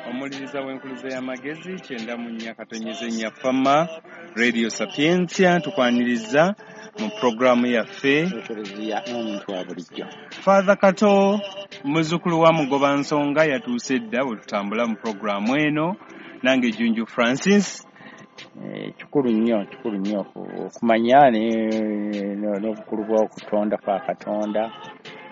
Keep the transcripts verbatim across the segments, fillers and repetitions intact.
Omuwuliriza w'Enkuluze y'Amagezi kyenda mu nnya katonyeze nnya Fama Radio Sapientia, tukwaniriza mu pulogulaamu yaffe Ekereziya n'omuntu wa bulijjo. Father Kato, muzzukulu wa Mugoba Nsonga, yatuuse dda bwe tutambula mu pulogulaamu eno. Nange Junju Francis. Eh, kikulu nnyo, kikulu nnyo okumanya n'obukulu bw'okutonda kwa Katonda.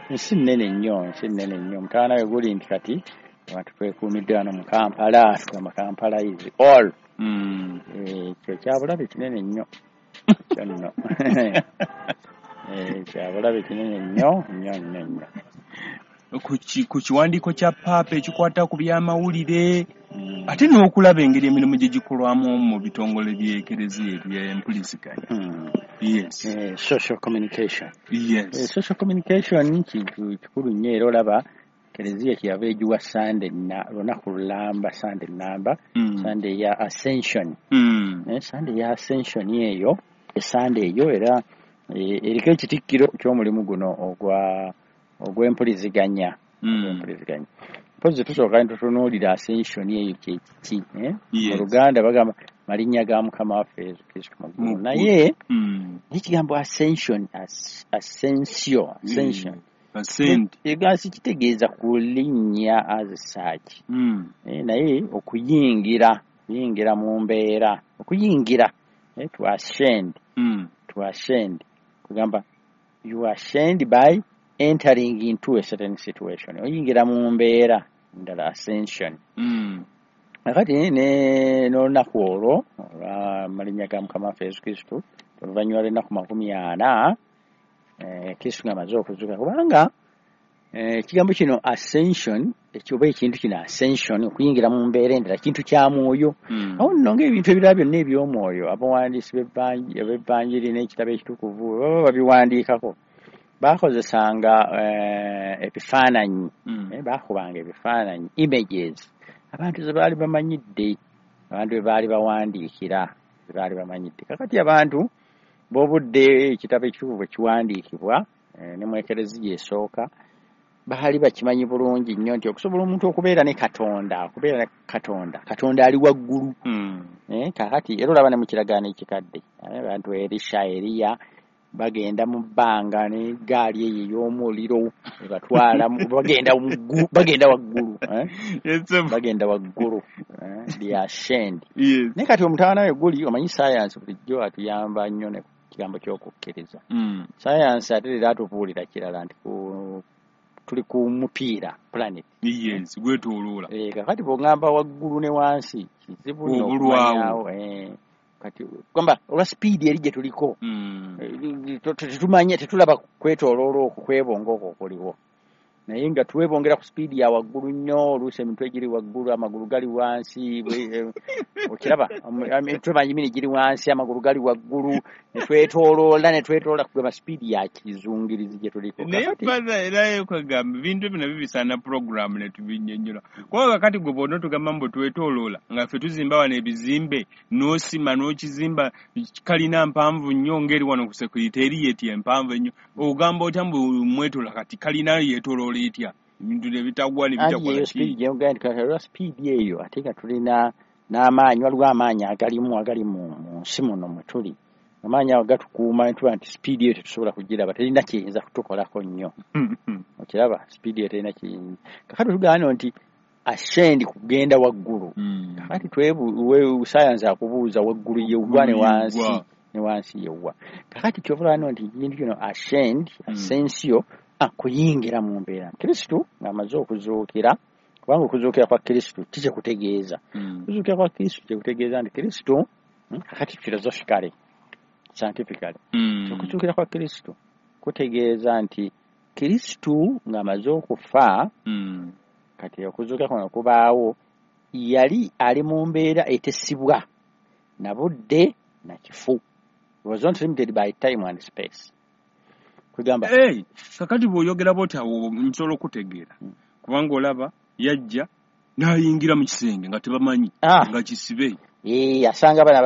Ensi nnene nnyo, ensi nnene nnyo. Omutawaana we guli nti kati abantu twekuumidde wano mu Kampala, tugamba Kampala is all. Mm. Ekyo kyabulabe kinene nnyo kyo nno. Eh, kyabulabe kinene nnyo nnyo nnyo nnyo. Ku ki- ku kiwandiiko kya Paapa ekikwata ku byamawulire, Mm. ate n'okulaba engeri emirimu gye gikolwamu mu bitongole by'Ekereziya eby'empuliziganya. Mm. Yes. Eh, social communication. Yes. Eh, social communication kintu kikulu nnyo, era olaba Kereziya kyeyava egiwa Sande na lunaku lulamba, Sande namba, Mm. Sande ya Ascension. Mm. Eh, Sande ya Ascension eyo, esande eyo era eh, eriko ekitikkiro ky'omulimu guno ogwa ogw'empuliziganya. Mm. Ogw'empuliziganya. Mpozzi tusooka ne tutunuulira Ascension eyo kye kiki, eh? Mu Yes. Luganda bagamba malinnya ga Mukama waffe Yesu Kristo mu ggulu. Mu ggulu. Naye Mm. ekigambo ascension, as, ascensio, ascension. Ascend. Egansi kitegeeza kulinnya as such. Mm. Eh, naye okuyingira, kuyingira mu mbeera, okuyingira, eh, to ascend, Mm. to ascend. Kugamba you ascend by entering into a certain situation. Oyingira mu mbeera ndala, ascension. Mm. Kakati ne n'olunaku olwo olw'amalinnya ga Mukama waffe Yesu Kristo, oluvannyuma lw'ennaku makumi ana, eh, Kristo ng'amaze okuzuuka, kubanga eh, ekigambo kino ascension, oba ekintu kino ascension, okuyingira mu mbeera endala, kintu kya mwoyo. Mm. Awo nno ng'ebintu ebirala byonna eby'omwoyo, abawandiisi b'ebbanji- ab'ebbanjiri n'ekitabo ekitukuvu baba babiwandiikako, baakozesanga eh, ebifaananyi. Mm. Eh, baakubanga ebifaananyi, images, abantu ze baali bamanyidde, abantu be baali bawandiikira ze baali bamanyidde. Kakati abantu b'obudde ekitabo ekitukuvu bwe kiwandiikibwa, eh, ne mu Ekereziya esooka, baali bakimanyi bulungi nnyo nti okusobola omuntu okubeera ne Katonda, okubeera ne Katonda, Katonda ali waggulu. Mm. Eh, kakati era olaba ne mu Kiragaano Ekikadde, eh, abantu Erisha, Eriya bagenda mu bbanga n'eggaali eyo ey'omuliro ebatwala mu- bagenda mu ggulu, bagenda waggulu, eh? Yes, sir. Bagenda waggulu, eh, they ascend. Yes. Naye kati omutawaana we guli, omanyi science bulijjo atuyamba nnyo ne ku kigambo ky'okukkiriza. Mm. Science ate leero atubuulira kirala nti ku tuli ku mupiira, planet. Yes, gwetooloola. Eh, kakati bw'oŋŋamba waggulu ne wansi kizibu nnyo Obulwawo. okumanyawo, eh, kati gamba olwa sipiidi eri gye tuliko, Mm. eh, tetumanya, tetulaba kwetooloola okwo, kwebonga okwo okuliwo, naye nga twebongera ku sipiidi ya waggulu nnyo. Oluusi emitwe giri waggulu, amagulu gali wansi, bwe- eh, okiraba Omu- emitwe manyimini giri wansi, amagulu gali waggulu, ne twetooloola, ne twetoloola, kugamba sipiidi ya kizungirizi gye tuliko. Naye Kakati Father, era kwegamba ebintu bino bibisaana pulogulaamu ne tubinnyonnyola, kubanga kakati gwe bw'ona otugamba mbu twetooloola, nga ffe tuzimba wano ebizimbe, n'osima n'okizimba kalina mpanvu nnyo ng'eri wano ku Secretariat empanvu ennyo, ogamba otya mbu mwetoola? Kati kalina yeetooloola etya, ebintu ne bitagwa ne Anti bitakola eyo ki? Sipiidi gye nti kati olwa sipiidi eyo, ate nga tulina n'amaanyi, waliwo amaanyi agalimu, agali mu mu nsi muno mwe tuli. Amaanyi ago gatukuuma ne tuba nti sipiidi eyo tetusobola kugiraba, terina kiyinza kutukolako nnyo. Okiraba, sipiidi eyo terina kiyinza. Kakati tugamba nti ascend kugenda waggulu. Mm. Kakati twebu science akubuuza waggulu yewwa ne wansi Yewwa. ne wansi yewwa? Kakati kyova olaba nti ekintu kino ascend, Mm. ascensio, ah, kuyingira mu mbeera. Kristo ng'amaze okuzuukira, kubanga okuzuukira kwa Kristo kikyekutegeeza, Mm. okuzuukira kwa Kristo kyekutegeeza nti Kristo, hmm, kakati philosophically, scientifically, Mm. okuzuukira kwa Kristo kutegeeza nti Kristo ng'amaze okufa, Mm. kati okuzuukira kuno kubaawo, yali ali mu mbeera etesibwa na budde na kifu. He was not limited by time and space, kugamba Hey, kakati bw'oyogera bw'oti awo nsobola okutegeera, kubanga olaba yajja n'ayingira mu kisenge nga tebamanyi Ah. nga kisibe. Eh, asanga bana.